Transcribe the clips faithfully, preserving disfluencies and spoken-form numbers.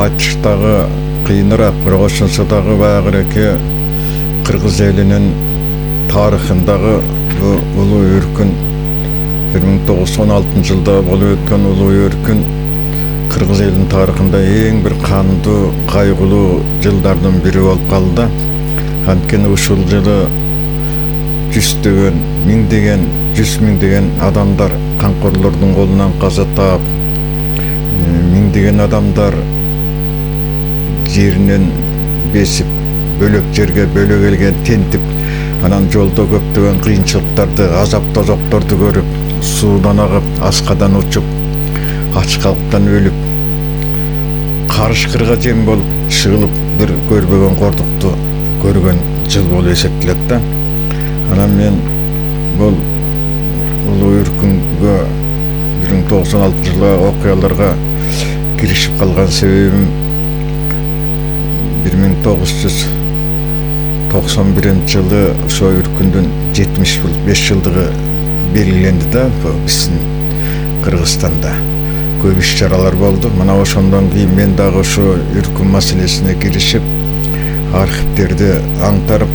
айтыш дагы кыйыныраак, бирок ошонсо дагы баягыреки кыргыз элинин тарыхындагы бул улуу өркүн бир миң тогуз жүз он алтынчы жылда болуп өткөн улуу өркүн кыргыз элинин тарыхында эң бир кандуу, кайгылуу жылдардын бири болуп калды. Анткени ушул жылы жүздөгөн, миңдеген, жүз миңдеген адамдар камкорлордун колунан каза таап, миңдеген адамдар жеринен бесип, бөлөк жерге бөлөк элге тентип, анан жолдо көптөгөн кыйынчылыктарды, азап тозокторду көрүп, суудан агып, аскадан учуп, ачкалыктан өлүп, карышкырга жем болуп, чыгылып, бир көрбөгөн кордукту көргөн жыл болуп эсептелет да. Анан мен бул улуу өркүнгө бир миң тогуз жүз он алтынчы жылы окуяларга киришип калган себебим бир миң тогуз жүз токсон биринчи жылы ошо өркүндүн жетимиш беш жылдыгы белгиленди да биздин Кыргызстанда. Көп иш чаралар болду. Мына ошондон кийин мен дагы ошо өркүн маселесине киришип, архивдерди аңтарып,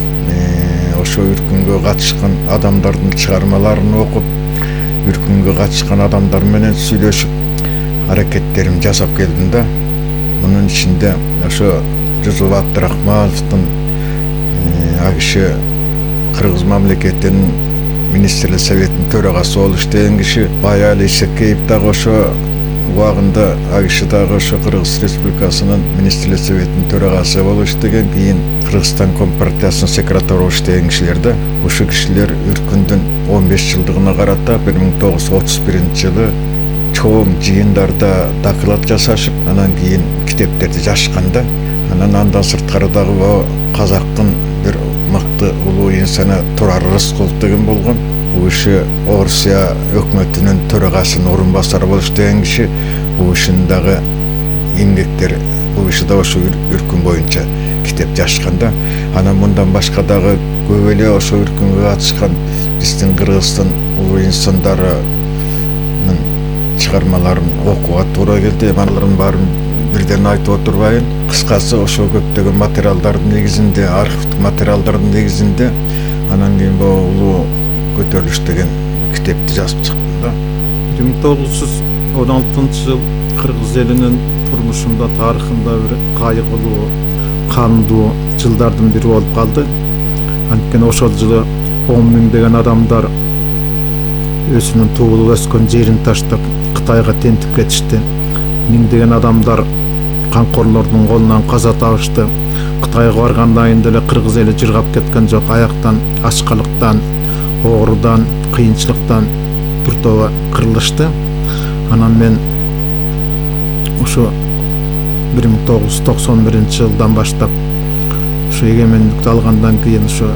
ошо өркүнгө катышкан адамдардын чыгармаларын окуп, өркүнгө катышкан адамдар менен сүйлөшүп, аракеттерим жасап келдим да. Мунун ичинде ошо Жусуп Абдрахмановдун а киши Кыргыз мамлекетинин министрлер советинин төрагасы болуп иштеген киши, Баяли Исекеев дагы ошо убагында а киши дагы ошо Кыргыз Республикасынын министрлер советинин төрагасы болуп иштеген, кийин Кыргызстан Компартиясынын секретары болуп иштеген кишилер да. Ошо кишилер өркүндүн он беш жылдыгына карата бир миң тогуз жүз отуз биринчи жылы чоң жыйындарда доклад жасашып, анан кийин китептерди жазышкан да. Анан андан сырткары дагы казактын бир мыкты улуу инсаны Турар Рыскулов деген болгон. Бул киши Орусия өкмөтүнүн төрагасынын орун басары болуп иштеген киши. Бул кишинин дагы эмгектери, бул киши да ошо өркүн боюнча китеп жазышкан да. Анан мындан башка дагы көп эле ошо өркүнгө катышкан биздин Кыргыздын улуу инсандарынын чыгармаларын окууга туура келди. Алардын баарын бирден айтып отурбайын. Кыскасы ошо көптөгөн материалдардын негизинде, архивдик материалдардын негизинде анан кийин бул улуу көтөрүлүш деген китепти жазып чыктым да. бир миң тогуз жүз он алтынчы жыл Кыргыз элинин турмушунда, тарыхында бир кайгылуу, кандуу жылдардын бири болуп калды. Анткени ошол жылы он миңдеген адамдар өзүнүн туулуп өскөн жерин таштап Кытайга тентип кетишти. Миңдеген адамдар камкорлордун колунан каза табышты. Кытайга баргандан кийин деле Кыргыз эли жыргап кеткен жок. Аяктан, ачкалыктан, оорудан, кыйынчылыктан бир тоба кырылышты. Анан мен ошо бир миң тогуз жүз токсон биринчи жылдан баштап ошо эгемендикти алгандан кийин ошо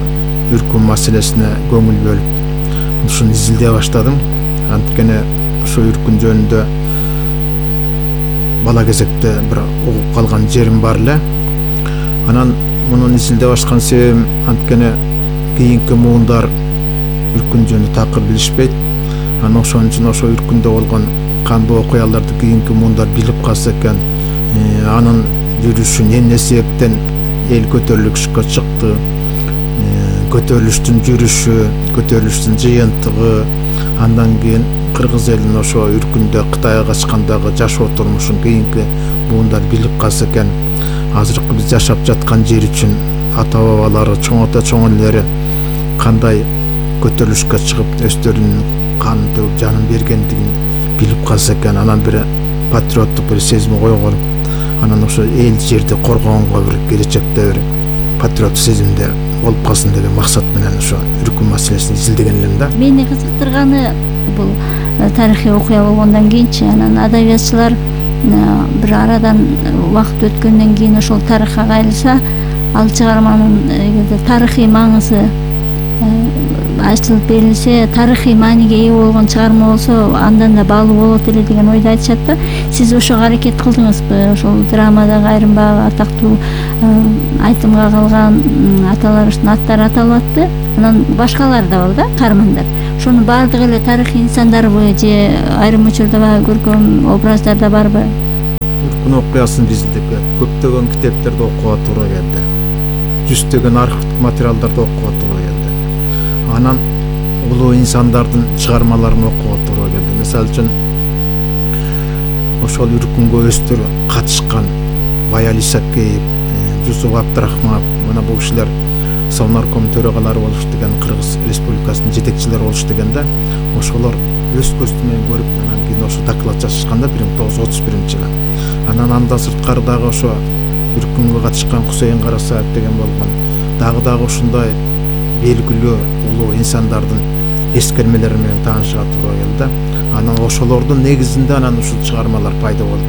өркүн маселесине көңүл бөлүп ушуну изилдей баштадым. Анткени ошо өркүн жөнүндө бала кезекте бир угуп калган жерим бар эле. Анан мунун изилдей башкан себебим анткени кийинки муундар өркүн жөнүндө такыр билишпейт. Анан ошон үчүн ошо өркүндө болгон кандуу окуяларды кийинки муундар билип калса экен, анын жүрүшүн эмне себептен эл көтөрүлүшкө чыкты, көтөрүлүштүн жүрүшү, көтөрүлүштүн жыйынтыгы, андан кийин Кыргыз элинин ошо өркүндө Кытайга качкандагы жашоо турмушун кийинки муундар билип калса экен, азыркы биз жашап жаткан жер үчүн ата бабалары, чоңото чоң элелери кандай көтөрүлүшкө чыгып өздөрүнүн канын төгүп жанын бергендигин билип калса экен, анан бир патриоттук бир сезим койгонуп, анан ошо эл жерди коргогонго бир келечекте бир патриоттук сезимде болуп калсын деген максат менен ошо өркүн маселесин изилдеген элем да. Мени кызыктырганы бул тарыхый окуя болгондон кийинчи анан адабиятчылар бир арадан убакыт өткөндөн кийин ошол тарыхка кайрылса, ал чыгарманын эгерде тарыхый маңызы айтылып берилсе, тарыхый мааниге ээ болгон чыгарма болсо, андан да баалуу болот эле деген ойду айтышат да. Сиз ошого аракет кылдыңызбы? Ошол драмадагы айрым баягы атактуу айтымга калган аталарыбыздын аттары аталып атты. Анан башкалар да бар да, каармандар. Ошонун баардыгы эле тарыхый инсандарбы же айрым учурда баягы көркөм образдар да барбы? үркүн окуясын биздики көптөгөн китептерди окууга туура келди. Жүздөгөн архивдик материалдарды окууга туура келди. Анан улуу инсандардын чыгармаларын окууга туура келди. Мисалы үчүн ошол үркүнгө өстөр катышкан Баял Исакеев, Жусуп Абдрахманов, мына бул кишилер Совнарком төрагалары болуш деген, Кыргыз Республикасынын жетекчилери болуш дегенде, ошолор өз көзү менен көрүп, анан кийин ошо доклад жазышканда бир миң тогуз жүз отуз биринчи жылы. Анан андан сырткары дагы ошо үркүнгө катышкан Кусейин Карасаев деген болгон, дагы дагы ушундай белгилүү улуу инсандардын эскермелери менен таанышууга туура келди. Анан ошолордун негизинде анан ушул чыгармалар пайда болду.